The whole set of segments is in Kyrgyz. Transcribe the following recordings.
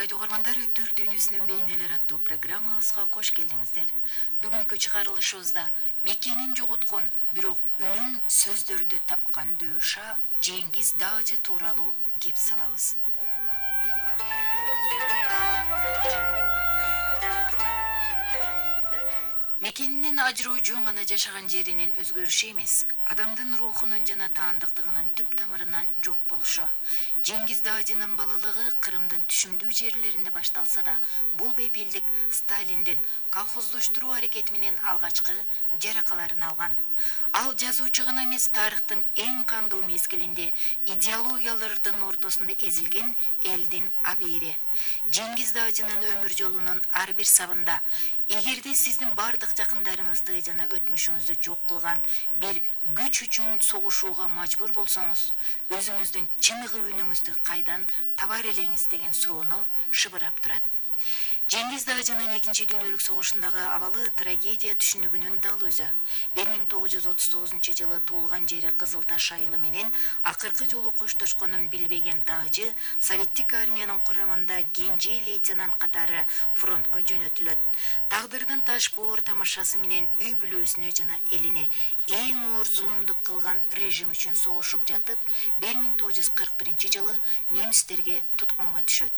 радио угармандары Түрк дүйнөсүнүн бейнелер аттуу программабызга кош келиңиздер. Бүгүнкү чыгарылышыбызда мекенин жоготкон, бирок үнүн сөздөрдө тапкан дөөша Жеңгиз Даажы тууралуу кеп салабыз. Мекенинен ажыруучу гана жашаган жеринин өзгөрүшү эмес, адамдын рухунун жана таандыктыгынын түп тамырынан жок болушу. Жеңгиз Даажынын балалыгы Кырымдын түшүмдүү жерлеринде башталса да, бул бепелдик Сталиндин колхоздоштуруу аракети менен алгачкы жаракаларын алган. Ал жазуучу гана эмес, тарыхтын эң кандуу мезгилинде идеологиялардын ортосунда эзилген элдин абийири. Жеңгиз Даажынын өмүр жолунун ар бир сабында эгерде сиздин бардык жакындарыңызды жана өтмүшүңүздү жок кылган бир күч үчүн согушууга мажбур болсоңуз, өзүңүздүн чыныгы үнүңүздү кайдан табар элеңиз деген суроону шыбырап турат. Жеңгиз Даажынын экинчи дүйнөлүк согушундагы абалы трагедия түшүнүгүнүн дал өзү. 1939 туулган жери Кызыл Таш айылы менен акыркы жолу коштошконун билбеген Даажы Советтик армиянын курамында кенже лейтенант катары фронтко жөнөтүлөт. Тагдырдын таш боор тамашасы менен үй бүлөсүнө жана элине эң оор зулумдук кылган режим үчүн согушуп жатып, 1941 немистерге туткунга түшөт.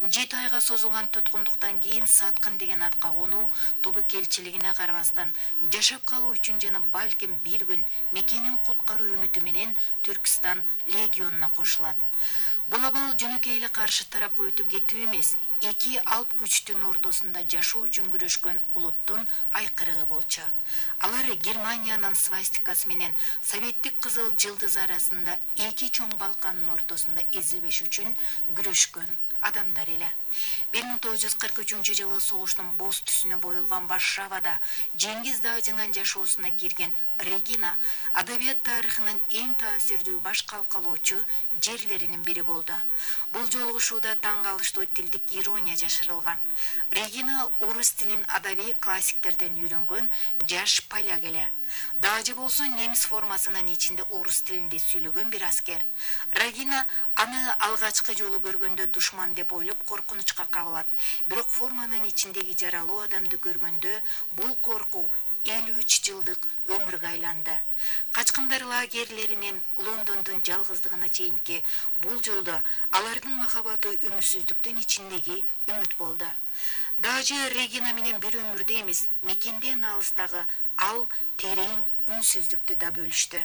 7 айга созулган туткундуктан кийин Саткын деген атка конуу тобукелчилигине карабастан жашап калуу үчүн жана балким бир күн мекенин куткаруу үмүтү менен Түркстан легионуна кошулат. Бул абал жөнөкөй эле каршы тарапка өтүп кетүү эмес, эки алп күчтүн ортосунда жашоо үчүн күрөшкөн улуттун айкырыгы болчу. Алар Германиянын свастикасы менен Советтик кызыл жылдыз арасында эки чоң Балкандын ортосунда эзилбеш үчүн күрөшкөн адамдар эле. 1943 согуштун боз түсүнө боюлган Варшавада Жеңгиз Даажынын жашоосуна кирген Регина адабият тарыхынын эң таасирдүү баш калкалоочу жерлеринин бири болду. Бул жолугушууда таң калыштуу тилдик ирония жашырылган. Регина орус тилин адабий классиктерден үйрөнгөн жаш поляк эле. Даажы болсо немис формасынын ичинде орус тилинде сүйлөгөн бир аскер. Регина аны алгачкы жолу көргөндө душман деп ойлоп коркунучка кабылат. Бирок форманын ичиндеги жаралуу адамды көргөндө бул коркуу 53 жылдык өмүргө айланды. Качкындар лагерлеринен Лондондун жалгыздыгына чейинки бул жолдо алардын махабаты үмүтсүздүктүн ичиндеги үмүт болду. Даажы Регина менен бир өмүрдө эмес, мекенден алыстагы ал терең үнсүздүктү да бөлүштү.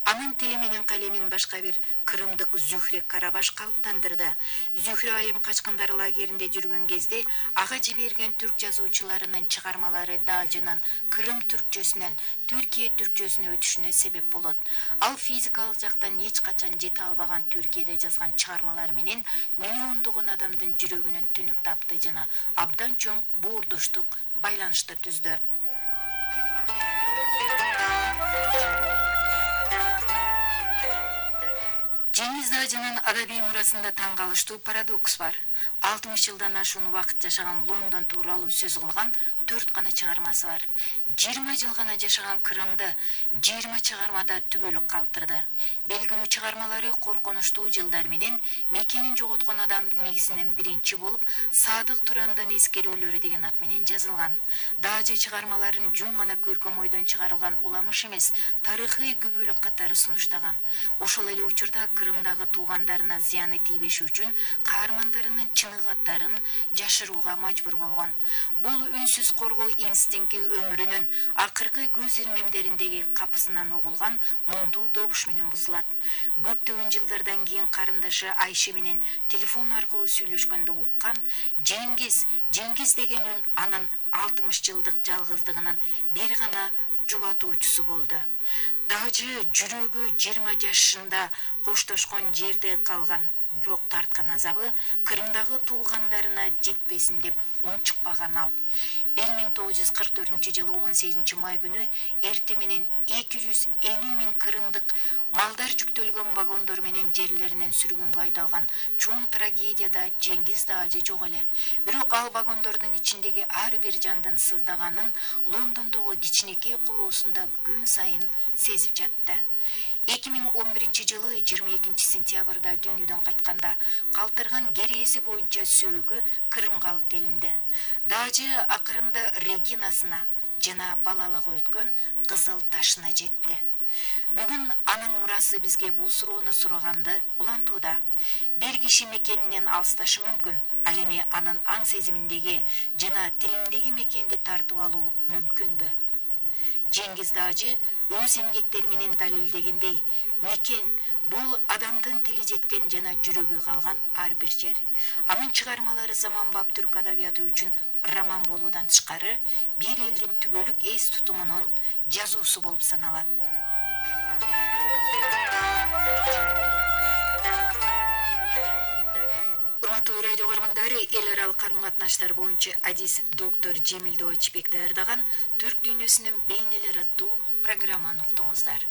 Анын тили менен калемин башка бир кырымдык Зүхре Карабаш калыптандырды. Зүхре айым качкындар лагеринде жүргөн кезде ага жиберген түрк жазуучуларынын чыгармалары Даажынын Кырым түркчөсүнөн Түркия түркчөсүнө өтүшүнө себеп болот. Ал физикалык жактан эч качан жете албаган Түркияда жазган чыгармалары менен миллиондогон адамдын жүрөгүнөн түнүк тапты жана абдан чоң боордоштук байланышты түздү. Жеңгиз Даажынын адабий мурасында таң калыштуу парадокс бар. 60 жылдан ашуун убакыт жашаган Лондон тууралуу сөз кылган 4 гана чыгармасы бар. 20 жыл гана жашаган Кырымды 20 чыгармада түбөлүк калтырды. Белгилүү чыгармалары коркунучтуу жылдар менен мекенин жоготкон адам негизинен биринчи болуп Садык Турандын эскерүүлөрү деген ат менен жазылган. Даажы чыгармаларын жөн гана көркөм ойдон чыгарылган уламыш эмес, тарыхый күбөлүк катары сунуштаган. Ошол эле учурда Кырымдагы туугандарына зыяны тийбеши үчүн каармандарынын чыныгаттарын жашырууга мажбур болгон. Бул үнсүз коргоо инстинкти өмүрүнүн акыркы көз ирмемдериндеги капысынан угулган моңдуу добуш менен бузулат. Көптөгөн жылдардан кийин карындашы Айше менен телефон аркылуу сүйлөшкөндө уккан Жеңгиз деген үн анын 60 жылдык жалгыздыгынын бир гана жубатуучусу болду. Даажы жүрөгү 20 жашында коштошкон жерде калган, бирок тарткан азабы Кырымдагы туугандарына жетпесин деп унчукпаган ал. 1944 18 май күнү эрте менен 250 миң кырымдык малдар жүктөлгөн вагондор менен жерлеринен сүргүнгө айдалган чоң трагедияда Жеңгиз Даажы жок эле. Бирок ал вагондордун ичиндеги ар бир жандын сыздаганын Лондондогу кичинекей короосунда күн сайын сезип жатты. 2011-жылы 22-сентябрда дүйнөдөн кайтканда калтырган керээси боюнча сөөгү Крымга алып келинди. Дажы акырында Регинасына жана балалыгы өткөн кызыл ташына жетти. Бүгүн анын мурасы бизге бул суроону сураганды улантууда. Бир киши мекенинен алысташы мүмкүн, ал эми анын аң сезиминдеги жана тилиндеги мекенди тартып алуу мүмкүнбү? Жеңгиз Дажы өз эмгектери менен далилдегендей, мекен бул адамдын тили жеткен жана жүрөгү калган ар бир жер. Анын чыгармалары заманбап түрк адабияты үчүн роман болуудан тышкары, бир элдин түбөлүк эс тутумунун жазуусу болуп саналат. Урматтуу радио көргөндөрү, эл аралык карым-катнаштар боюнча адис доктор Жемил Добачбек даярдаган Түрк дүйнөсүнүн бейнелери аттуу программаны уктуңуздар.